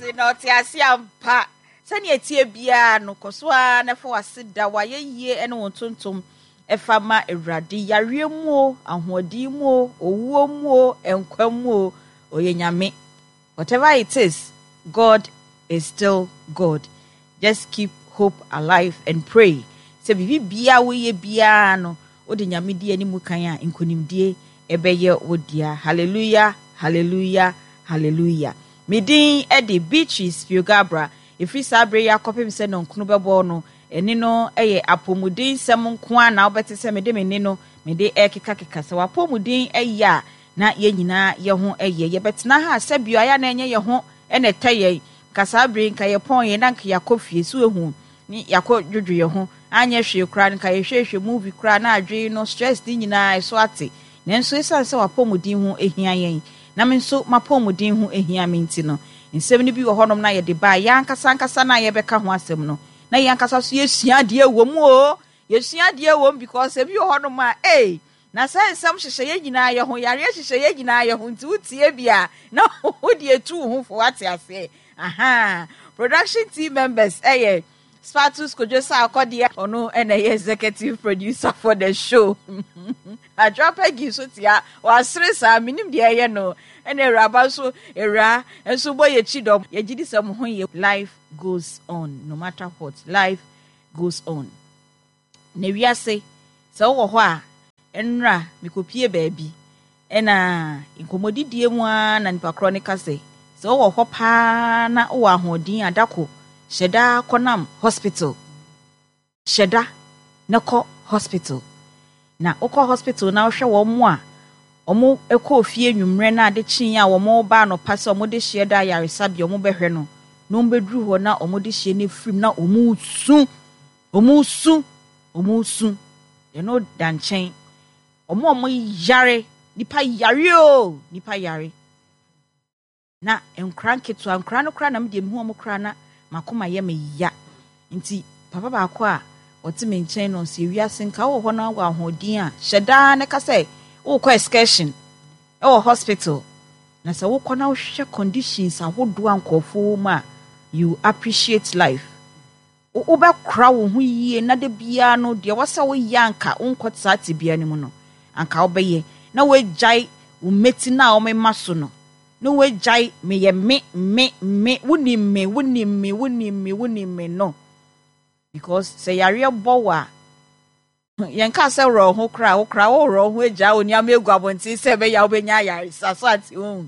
ase na ɔte ase ampa. Sɛnea ɛteɛ biara no, kɔ so ara na fa w'aseda, w'ayɛyie ne wo ntontom fa ma Awurade. Yareɛ mu o, ahoɔden mu o, owuo mu o, nkwa mu o, ɔyɛ Nyame. Whatever it is, God is still God. Just keep hope alive and pray sɛ biribi biara woyɛ biara no, wode Nyame di anim kan a, nkonimdie ɛbɛyɛ wo dea. Hallelujah, hallelujah, hallelujah. Me din de Beatrice Piogabra. Ɛfiri saa berɛ yi akɔpem sɛ nɔnkono bɛbɔ no, ɛne no yɛ apɔmuden nsɛm nko ara na wobɛte sɛ mede me nne no mede rekekakeka. Sɛ w'apɔmuden yɛ a, na yɛn nyinaa yɛ ho yɛ. Yɛbɛtena ha a sɛbio ayɛ a na ɛnyɛ yɛn ho na ɛtɛ yɛn. Nka saa berɛ yi nka yɛpɔn yɛn na nka yɛakɔ fie. So woahu? Ne yɛakɔ dwodwo yɛn ho. Anyɛ hwee koraa no nka yɛhwɛhwɛ movie koraa na adwene no stress ne nyinaa ɛso ate. Nanso esiane sɛ w'apɔmuden ho hia yɛn na me nso m'apɔmuden ho hia me nti no, nsɛm no bi wɔ hɔnom na yɛde ba a, yɛn ankasa ankasa no a yɛbɛka ho asɛm no, na yɛn ankasa nso yɛsua adeɛ wɔ mu o. Yɛsua adeɛ wɔ mu because ebi wɔ hɔnom a, ei, na sɛ nsɛm hyehyɛ yɛn nyinaa yɛ ho, yareɛ hyehyɛ yɛn nyinaa yɛ ho, nti wotie bi a, na wode etu wo ho fo, wate aseɛ. Aha, production team members ɛyɛ Spatus Kojo Sarkodie, ɔno na ɛyɛ executive producer for the show. Adwoa Peggy nso tia, wasere saa, menim deɛ ɛyɛ no. Ɛna awuraba nso, awura nso bɔ yɛ kyi dɔm. Yɛgye di sɛ mo ho yɛ. Life goes on, no matter what, life goes on. Na wiase, sɛ wowɔ hɔ a, nnora mekɔpie baabi, ɛna nkɔmmɔdidie mu ara na nipa korɔ no ka sɛ, sɛ wowɔ hɔ paa na wowɔ ahoɔden a, dako hyɛ da kɔnam hospital. Hyɛ da na kɔ hospital. Na wokɔ hospital na wohwɛ wɔn a wɔkɔɔ fie anwummerɛ na ade kyeeɛ a wɔreba anɔpa sɛ wɔde hyeɛ da ayaresabea wɔbɛhwɛ no, na wɔbɛduru hɔ na wɔde hyeɛ no afirim na wɔresu. Wɔresu, wɔresu. Ɛno da nkyɛn. Wɔn a wɔyare, nipa yare o, nipa yare. Na nkora nketewa, nkora no koraa na me deɛ mehu wɔn koraa na m'akoma yɛ me ya. Nti papa baako a ɔte me nkyɛn no ɔsɛ wiase nka wɔ hɔ na wɔ ahoɔden a hyɛ daa na ka sɛ wokɔ excursion ɛwɔ hospital. Na sɛ wokɔ na wohwɛ conditions ahodoɔ a nkurɔfoɔ wɔ mu a, you appreciate life. Wobɛkora wo ho yie na da biara no deɛ ɛwɔ sɛ woyɛ anka wonkɔ saa tebea no mu no, anka wobɛyɛ. Na woagyae wo mmati no a wɔmema so no. Na woagyae meyɛ me, me, me, wonim me, wonim me, wonim me, wonim me no. Because sɛ yareɛ bɔ wo a, yɛnka sɛ worɔ wo ho koraa, wo koraa worɔ wo ho agyaa wo nneɛma agu abɔnten sɛ ɛbɛyɛ a wobɛnya ayaresa. So ate wo?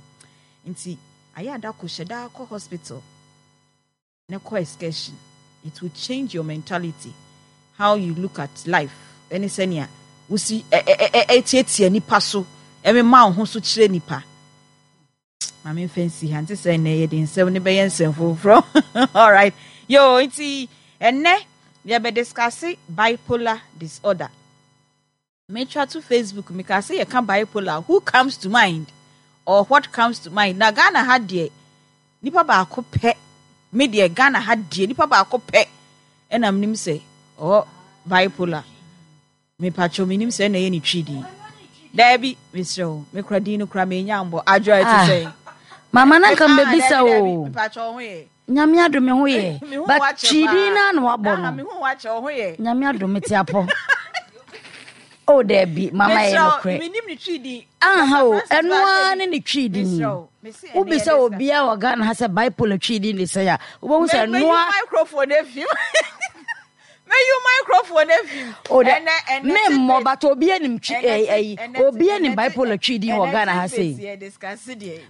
Nti ayɛ ada kɔ hyɛ daa kɔ hospital. Na kɔ excursion it will change your mentality how you look at life ɛne sɛnea wosi ɛtiatia nipa so ɛmema wo ho so kyerɛ nipa maame nfa nsi ha nti sɛ ɛnɛ yɛde nsɛm ne bɛyɛ nsɛm foforɔ alright yo nti ɛnɛ yɛbɛ discuss bipolar disorder. Metwa to Facebook mekaa sɛ yɛka bipolar who comes to mind or what comes to mind na Ghana ha deɛ nipa baako pɛ me deɛ Ghana ha deɛ nipa baako pɛ ɛna menim sɛ ɔwɔ bipolar mepatwɔ menim sɛ ɛna ɛyɛ ne twi din daabi mesrɛ wo mekora din no kora menya mbɔ adwoa ɛte ah, sɛ mama na nka mbɛbisa o mepatwɔ ho yɛ Nyame adom me ho yɛ. But twidi na na wabɔ no. Nyame adom me te apɔ. Oh Debbie, mama yɛ nokorɛ. Aha o, ɛno ara ne ne twi din. Wobisa obiara wɔ Ghana ha sɛ bipolar twi din de sɛn a, wobɛhu sɛ ɛno ara. microphone efim. Meyi microphone efim. O de, me mmɔ but obi anim twi ɛyi eh, obi anim bipolar twi din wɔ Ghana ha sei.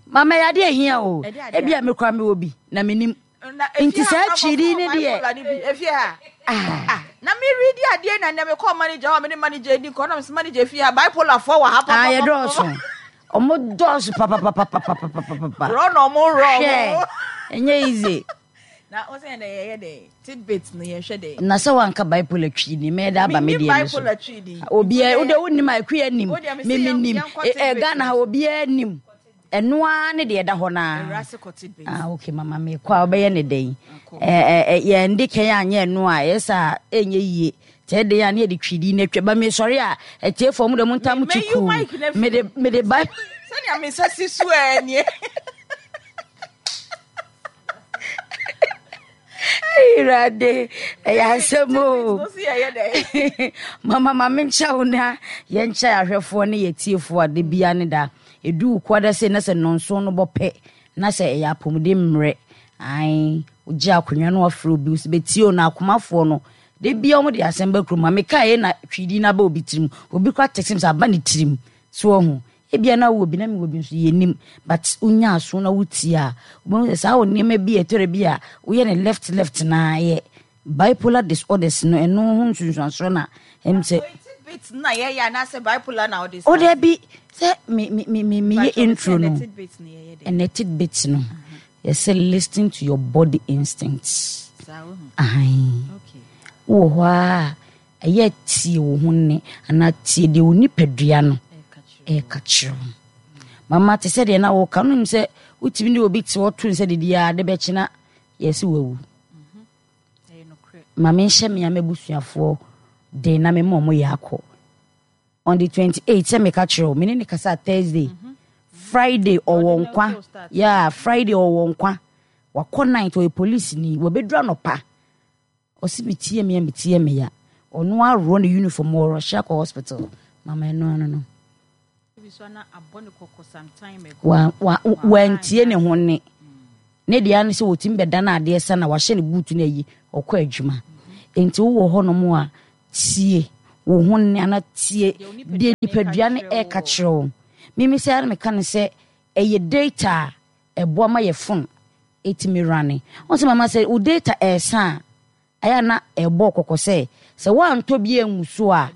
Mama yɛ adeɛ hia o. Ebi a mekura me wɔ bi na menim. Nti saa twi din ne deɛ. Efie ha. Ah. ah. Na me read adeɛ na nea mekɔ manager hɔ me ne manager di nkɔ na me manager efie ha bipolar fo wɔ ha papa. Ah, yɛ dɔɔso. Ɔmo dɔɔso papapapapapapapa. Rɔ na ɔmo rɔ. Hwɛ, ɛnyɛ easy. Na wo sɛ yɛn yɛyɛ dɛ tidbit no yɛhwɛ dɛ. Na sɛ wanka bipolar twi ni mɛyɛ dɛ aba me deɛ no so. Obiara wo de wonim a akuya nim me me nim ɛ Ghana ha obiara nim ɛno ara ne deɛ ɛda hɔ naa. Ah okay mama me kɔ a wobɛyɛ ne dɛn ɛ ɛ yɛn de kɛn anyɛ ɛno a ɛyɛ sɛ ɛnyɛ yie tɛ de a ne yɛde twi di na atwa ba me sɔre a atiefoɔ mo de mo ntam ti kuu mede mede ba. Sɛnea me nsa si so ɛ nie. Awurade, ɛyɛ asɛm o. Mama ma menkyɛ wo na yɛnkyɛ ahwɛfoɔ ne yɛtiefoɔ a da bia ne da. Ɛdu wo koada sei na sɛ nnɔnson no bɔ pɛ na sɛ ɛyɛ apɔmuden mmerɛ. Ae, wogye akonnwa no wafrɛ obi sɛ bɛtie o na akomafoɔ no da bia wɔn de asɛm ba kurom. Ma mekae na twidi no aba obi tirim. Obi kora text me sɛ aba ne tirim. So wahu? Ebia na wowɔ bi na mewɔ bi nso yɛnnim but wonya aso na wotie a wobɛhu sɛ saa wɔ nneɛma bi a ɛtɔrɔ bi a woyɛ ne left left na yɛ bipolar disorders no ɛno ho nsunsuansoɔ na ɛm sɛ tidbit na yɛyɛ anaasɛ bipolar na wode o dabi sɛ me me me me meyɛ intro no ɛnɛ tidbit no yɛsɛ listen to your body instincts ahan wowɔ hɔ a Ɛyɛ a tie wo ho nne anaa tie deɛ wo nipadua no ɛreka kyerɛ wo. Mama te sɛ deɛ na woka no nim sɛ wotumi ne obi te hɔ to nsa didi a ade bɛkye na yɛse wawu. Ma menhyɛ me a m'abusuafoɔ den na mema ɔmo yɛ akɔ. On the 28 sɛ meka kyerɛ wo me ne ne kasa Thursday. Friday ɔwɔ nkwa. Yeah, Friday ɔwɔ nkwa. Wakɔ night ɔyɛ police ni. Wabɛduru anɔpa. Ɔse me ti yɛ me ya me ti yɛ me ya ɔno aworɔ ne uniform ɔrɔhye akɔ hospital mama ɛno ano no wa wa wantie ne ho ne ne deɛ ano sɛ wɔtumi bɛda no adeɛ sa na wahyɛ ne buutu no ayi ɔkɔ adwuma nti wowɔ hɔnom a tie wo ho ne ana tie deɛ nipadua no ɛka kyerɛ wo mimi sɛ ara meka no sɛ ɛyɛ data a ɛboa ma yɛ phone ɛtumi runne. Wohu sɛ mama sɛ wo data ɛresa a, ɛyɛ a na ɛbɔ kɔkɔ sɛ sɛ woantɔ bi angu so a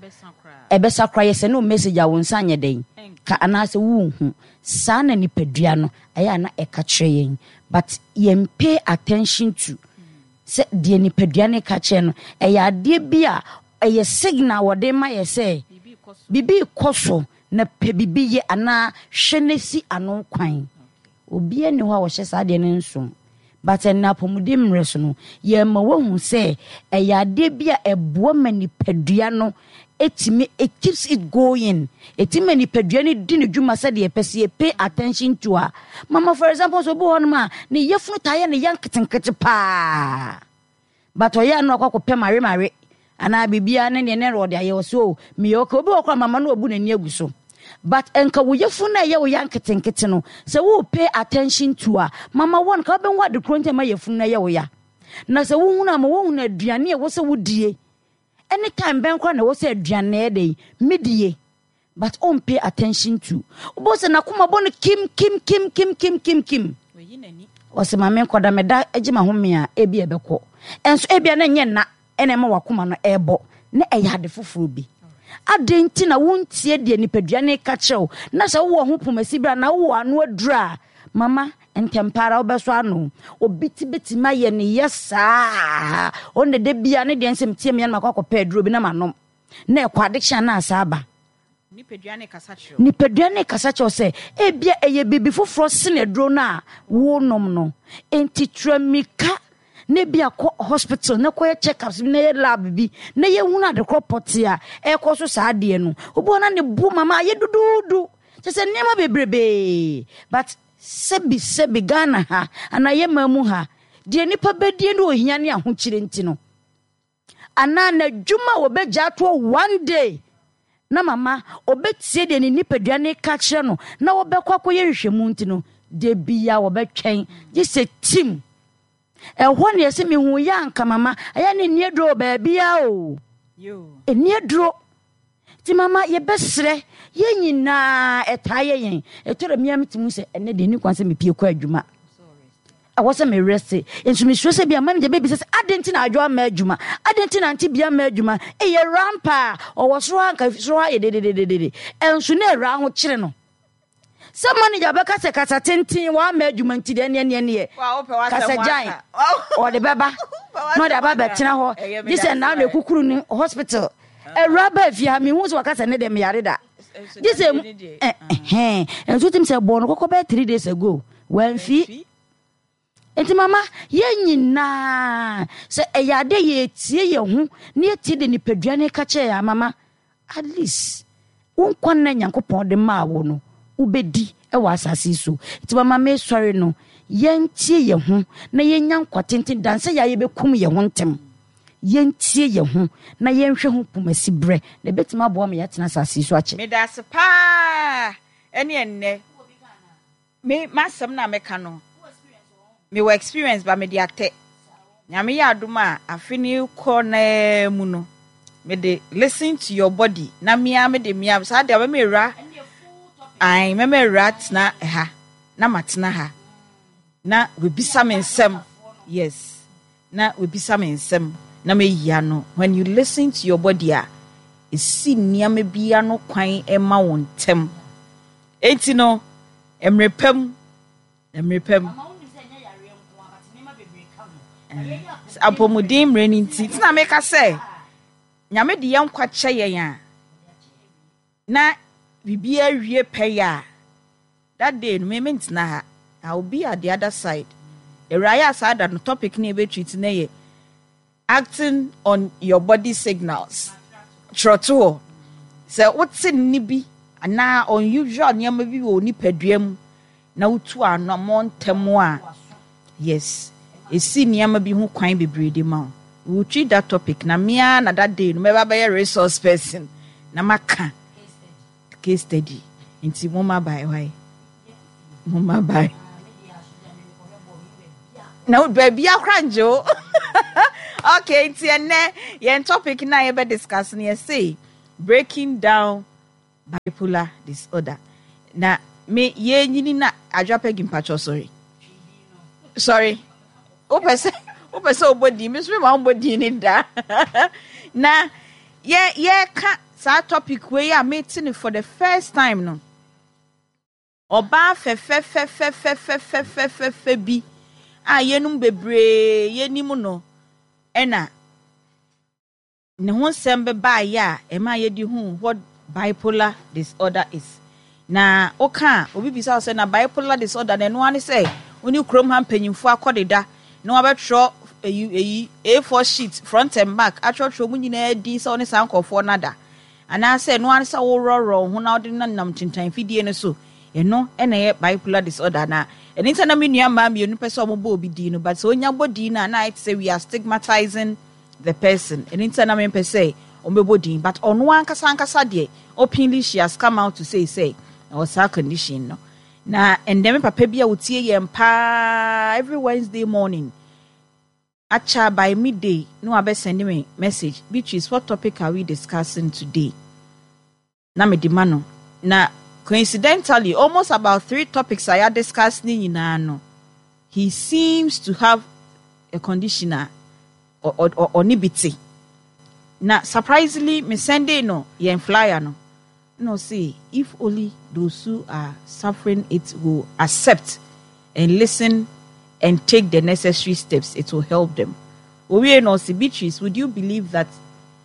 ɛbɛsa koraa. Yɛ sɛne wo message a wo nsa nyɛ dɛn ka anaasɛ wonhu. Saa na nipadua no ɛyɛ a na ɛka kyerɛ yɛn but yɛn pay attention to sɛ deɛ nipadua no ka kyerɛ no ɛyɛ adeɛ bi a ɛyɛ signal wɔde ma yɛ sɛ biribi rekɔ so na pɛ biribi yɛ anaa hwɛ na si ano kwan. Obiara nni hɔ a ɔhyɛ saa adeɛ no nso. But ɛnnɛ apɔmuden mmerɛ so no, yɛma woahu sɛ ɛyɛ adeɛ bi a ɛboa ma nipadua no ɛtumi, it keeps it going. Ɛtumi ma nipadua no di ne dwuma sɛdeɛ ɛpɛ sɛ yɛ pay attention to a. Mama for example, sɛ obi wɔ hɔnom a, ne yafunu taa yɛ ne ya nketenkete paa. But ɔyɛ a na wakɔ akɔpɛ mawe mawe anaa biribiara ne neɛ ne ɔde ayɛ ɔsɛ o meyɛ okay. Obi wɔ hɔ koraa mama no wabu n'ani agu so. But nka wo yafunu no a ɛyɛ wo ya nketenkete no sɛ wo pay attention to a mama wɔ nka wobɛhu ade korɔ nti a ɛma yafunu no ɛyɛ wo ya. Na sɛ wohunu a ma wohunu aduane a ɛwɔ sɛ wodie ɛne time bɛn koraa na ɛwɔ sɛ aduane ɛyɛ dɛn medie. But ɔn pay attention to. Wobɛhu sɛ n'akoma bɔ no kim kim kim kim kim kim kim. Ɔsɛ ma menkɔda meda gye m'ahome a ebi ɛbɛkɔ. Ɛnso ebia na ɛnyɛ nna ɛna ɛma w'akoma no ɛrebɔ na ɛyɛ ade foforɔ bi. Adɛn nti na wontie deɛ nipadua no reka kyerɛ wo na sɛ wowɔ ho pomasi berɛ anaa wowɔ ano aduru a mama ntɛmpa ara wobɛsɔ ano. Obi ti bɛtumi ayɛ ne yɛ saa. Ɔno na da biara ne deɛ nsɛm tie me a na makɔ akɔpɛ aduro bi na manom. Na ɛkɔ adekyee a na asa aba. Nipadua no rekasa kyerɛ wo. Nipadua no rekasa kyerɛ wo sɛ ebia ɛyɛ biribi foforɔ sene aduro no a worenom no. Enti tura mmirika na ebia kɔ hospital na kɔyɛ check-ups bi na yɛ lab bi na yɛhunu adekorɔ pɔtee a ɛrekɔ so saa adeɛ no. Obi wɔ hɔ na ne bo mama ayɛ duduudu. Kyerɛ sɛ nneɛma bebrebee. But sɛbi sɛbi Ghana ha anaa yɛn man mu ha, deɛ nnipa bɛdie ne ohia ne ahokyere nti no, anaa n'adwuma a wɔbɛgya atoɔ one day na mama ɔbɛtie deɛ ne nipadua no reka kyerɛ no na wɔbɛkɔ akɔyɛ nhwehwɛmu nti no, da bia wɔbɛtwɛn gye sɛ tim. Ɛhɔ ne yɛsɛ mehu yɛ anka mama ɛyɛ ne nni aduro wɔ baabiara o. Ɛnni aduro. Nti mama yɛbɛsrɛ yɛn nyinaa ɛtaa yɛ yɛn. Ɛtɔ da mia metumi sɛ ɛnɛ deɛ ɛni kwan sɛ mepie kɔ adwuma. Ɛwɔ sɛ me rest. Nso mesuro sɛ bia manager bɛbisa sɛ adɛn nti na adwo amma adwuma? Adɛn nti na ante bia amma adwuma? Ei awuraa ampa a ɔwɔ soro ha nka soro ha yɛ dedededede. Ɛnso na awuraa ho kyere no. Sɛ manager bɛka sɛ kasa tenten wamma adwuma nti deɛ ɛneɛ neɛ neɛ kasa gyan ɔde bɛba na ɔde aba bɛtena hɔ gye sɛ naa na ekukuru ne hospital. Awuraa baa fie ha mehu sɛ waka sɛ ne deɛ meyare da. Gye sɛ ɛhɛn nso tim sɛ bɔɔ no kɔkɔ bɛyɛ 3 days ago wamfi. Nti mama yɛn nyinaa sɛ ɛyɛ ade yɛtie yɛn ho na yɛtie de nipadua no ka kyerɛ yɛn mama at least wo nkwa nna Nyankopɔn de maa wo no wobɛdi wɔ asase yi so. Nti mama mesɔre no. Yɛntie yɛn ho na yɛnya nkwa tenten dan sɛ yɛ a yɛbɛkum yɛn ho ntɛm. Yɛntie yɛn ho na yɛnhwɛ ho pomasi berɛ, na ɛbɛtumi aboa ma yɛatena asase yi so akyɛ. Medase paa ɛne ɛnnɛ me m'asɛm no a mɛka no mewɔ experience ba mede atɛ Nyame yɛ adom a afe no rekɔ naa mu no mede listen to your body na mea mede mea saa deɛ mɛma awura ae mɛma awura tena ha na matena ha na wabisa me nsɛm yes na wabisa me nsɛm na mayi ano. When you listen to your body a, ɛsi nneɛma bi ano kwan ma wo ntɛm. Enti no, mmerɛ pa mu, mmerɛ pa mu. Apɔmuden mmerɛ no nti, nti na meka sɛ, Nyame de yɛn nkwa kyɛ yɛn a, na biribiara wie pɛyɛ a, That day no me mentena ha, I will be at the other side. Awuraa yɛ a saa da no topic no a yɛbɛ treat no yɛ acting on your body signals. Twerɛtohɔ. Sɛ wote nne bi anaa unusual nneɛma bi wɔ wo nipadua mu na wotu anammɔn ntɛm a, yes, ɛsi nneɛma bi ho kwan bebree de ma wo. We will treat that topic na me ara na that day no mɛba bɛyɛ resource person na maka. Case study nti momma bye why momma bye na baabi akora ngye o okay nti ɛnɛ yɛn topic na yɛbɛ discuss no yɛse breaking down bipolar disorder na me yɛnyini na adwa pɛgi mpakyɛ sorry sorry Wopɛ sɛ wopɛ sɛ wobɔ din, me nso mema wombɔ din ne da. Na yɛ yɛka saa topic wei a mete no for the first time no, ɔbaa fɛfɛfɛfɛfɛfɛfɛfɛ bi a yɛnum bebree yɛnim no ɛna Ne ho nsɛm bɛbaeɛ a ɛmaa yɛde huu what bipolar disorder is. Na woka a, obi bisa wo sɛ, na bipolar disorder no, ɛno ara ne sɛ wo ne kurom ha mpanyimfoɔ akɔdeda na wɔabɛtwerɛ eyi eyi A4 sheet front and back atwerɛtwerɛ wɔn nyinaa din sɛ wo ne saa nkurɔfoɔ no ada. Anaasɛ ɛno ara ne sɛ worɔworɔ wo ho na wode nenam ntentan fidie no so. Ɛno na ɛyɛ bipolar disorder anaa? Ɛno nti na me nua mmaa mmienu pɛ sɛ wɔbɔ obi din no, but sɛ onya bɔ din no a, na ayɛ te sɛ we are stigmatizing the person ɛno nti na mempɛ sɛ ɔmbɛbɔ din but ɔno ankasa ankasa deɛ openly she has come out to say sɛ ɔwɔ saa condition no na ɛndɛ me papa bi a ɔtie yɛn paa every Wednesday morning akyɛ by midday na wabɛ send me message, Beatrice, what topic are we discussing today? Na mede ma no na coincidentally almost about three topics a yɛ discuss ne nyinaa no he seems to have a condition a ɔne bi te na surprisingly me sendee no yɛn flyer no na ɔse if only those who are suffering it will accept and listen and take the necessary steps it will help them. Owiei no ɔse Beatrice would you believe that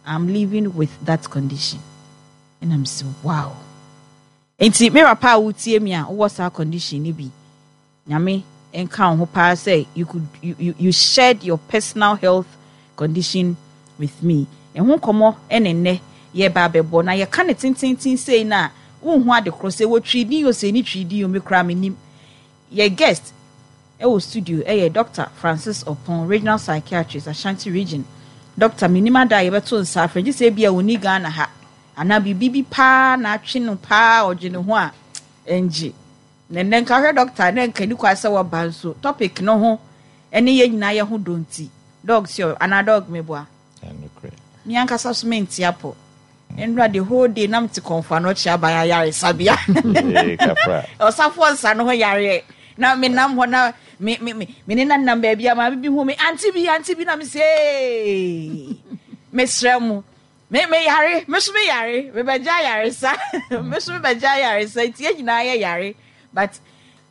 I'm living with that condition ɛna me se wow nti me papa a wotie me a wowɔ saa condition no bi Nyame nka wo ho paa sɛ you could you, you, you shared your personal health condition with me ɛho nkɔmmɔ ɛne nnɛ yɛba abɛbɔ na yɛka ne tententen sei no a wonhu ade korɔ sɛ wɔtwi din o sɛ ɛni twi din o me koraa menim yɛ guest Ɛwɔ studio ɛyɛ Doctor Francis Oppong, Regional Psychiatrist, Ashanti Region. Doctor, mennim ada a yɛbɛto nsa afrɛ, gye sɛ ebia ɔnni Ghana ha, anaa biribi bi paa na atwe no paa a ɔdwene ho a, ɛngye. Na ɛnnɛ nka wohwɛ Doctor a, na nka ɛni kwan sɛ waba nso topic no ho ɛne yɛn nyinaa yɛ ho dɔ nti. Dog sure, anaa dog meboa? Ɛnokorɛ. Me ankasa so mente apɔ. Nnora the whole day na mete kɔnfo ano ɔkye aban ayaresabea. Ɔsafoɔ nsa no ho yareɛ. Na me nam hɔ na me me me me ne nanam baabi a maame bi hu me ante bi ante bi na me se mesrɛ mo me me yare me so me yare me bɛgye ayaresa me so me bɛgye ayaresa nti yɛn nyinaa yɛ yare but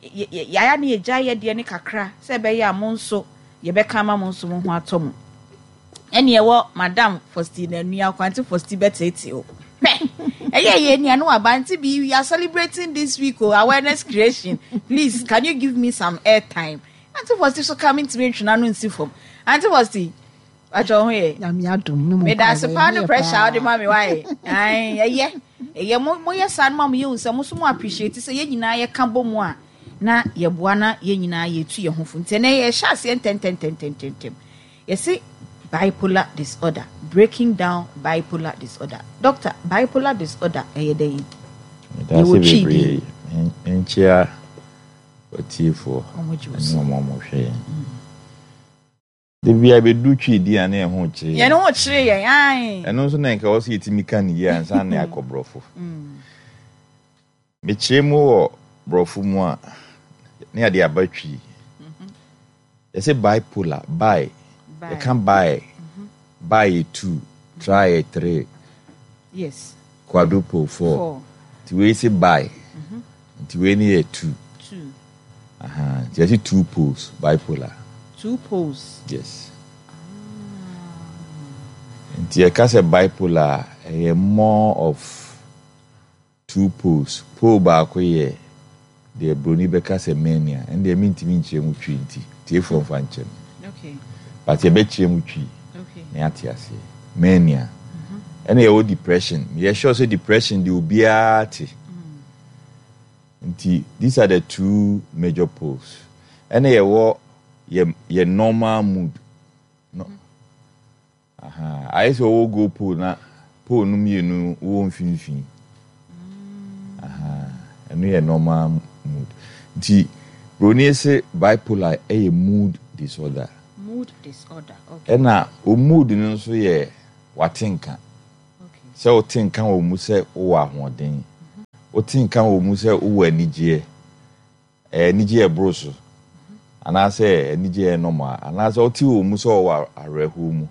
Yɛayɛ ne yɛgyae yɛ deɛ no kakra sɛ ɛbɛyɛ a mo nso yɛbɛka ama mo nso mo ho atɔ mo. Ɛne ɛwɔ Madam Faustina Nua Kwante Fausti bɛtete o. Hwɛ! Ɛyɛ yɛ nua no aba nti bi we are celebrating this week o awareness creation. Please can you give me some airtime? Auntie Fausti so ka mentumi ntwe n'ano nsi fam. Auntie Fausti, Pacho ho yɛ. Nyame adom ne mo Meda ase paa ne pressure a wode ma me wae. Ae, ɛyɛ. Ɛyɛ mo moyɛ saa no ma mo yɛhu sɛ mo so mo appreciate sɛ yɛn nyinaa yɛka bɔ mu a. na yɛboa na yɛn nyinaa yɛtu yɛn ho fo. Nti ɛnɛ yɛhyɛ aseɛ ntɛntɛntɛntɛntɛm. Yɛse bipolar disorder, breaking down bipolar disorder. Doctor, bipolar disorder ɛyɛ dɛn? Medase bebree. Menkyea watiefoɔ ne wɔn a wɔhwɛ yɛn. Da biara bɛdu Twi din a na yɛn ho kyere yɛn. Yɛn ho kyere yɛn, ae. Ɛno nso na nka ɛwɔ sɛ yɛtumi ka no yie ansa na yɛakɔ borɔfo. Mekyerɛ mu wɔ borɔfo mu a, na yɛde aba Twi. Yɛsɛ bipolar, bi, yɛka bi, bi yɛ two, tri yɛ three, yes. Quadruple four. Nti wei se bi, nti wei ne yɛ two. Two. Aha, nti yɛse two poles, bipolar. Two poles. Yes. Nti yɛka sɛ bipolar a, ɛyɛ more of two poles. Pole baako yɛ deɛ broni bɛka sɛ mania, ɛno deɛ mentumi nkyerɛ mu twi nti tiefoɔ mfa nkyɛ me. Okay. But yɛbɛkyerɛ mu twi na yɛate aseɛ. Mania. Ɛna yɛwɔ depression. Meyɛ sure sɛ depression deɛ obiara te. Nti these are the two major poles. Ɛna yɛwɔ yɛ yɛ normal mood. No. Aha. Ayɛ sɛ ɔwɔ go pole na pole no mmienu wɔ mfimfini. Aha. Ɛno yɛ normal mood. Nti broni se bipolar ɛyɛ mood disorder. Mood disorder. Okay. Ɛna o mood no nso yɛ watenka. Sɛ wote nka wɔ mu sɛ wowɔ ahoɔden, wote nka wɔ mu sɛ wowɔ anigyeɛ, ɛyɛ anigyeɛ a ɛboro so, anaasɛ anigyeɛ a ɛyɛ normal, anaasɛ wote wɔ mu sɛ wɔwɔ awerɛhoɔ mu.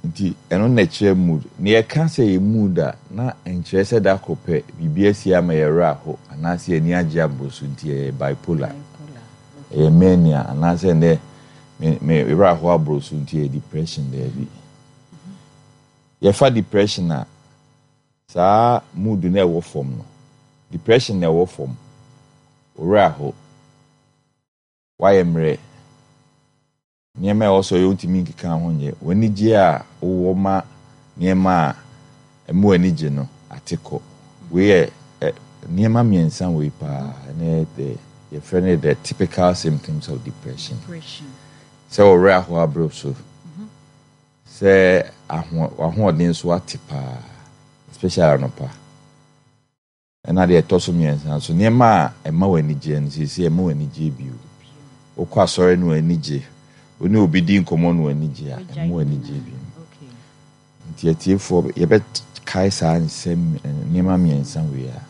Nti ɛno na ɛkyerɛ mood. Na yɛka sɛ yɛ mood a, na ɛnkyerɛ sɛ da koro pɛ biribi asi ama yɛn werɛ aho anaasɛ yɛn ani agye aboro so nti yɛyɛ bipolar. Ɛyɛ mania anaasɛ ɛnnɛ me me werɛ aho aboro so nti ɛyɛ depression daabi. Yɛfa depression a, saa mood no a ɛwɔ fam no, depression na ɛwɔ fam, wo werɛ aho, woayɛ mmerɛ, Nneɛma a ɛwɔ sɛ ɔyɛ wontumi nkeka ho nyɛ. W'anigye a wowɔ ma nneɛma a ɛma w'ani gye no ate kɔ. Wei yɛ ɛ nneɛma mmiɛnsa wei paa na ɛyɛ the yɛfrɛ no the typical symptoms of depression. Sɛ wo werɛ ahow abere so, sɛ aho w'ahoɔden so ate paa, especially anɔpa. Ɛna deɛ ɛtɔ so mmiɛnsa nso, nneɛma a ɛma w'ani gyeɛ no, seesei ɛmma w'ani gyeɛ bio. Wokɔ asɔre no w'ani gye, wo ne obi di nkɔmmɔ no w'ani gye a, ɛmma w'ani gyeɛ bio. Nti atiefoɔ, yɛbɛkae saa nsɛm nneɛma mmiɛnsa wei a.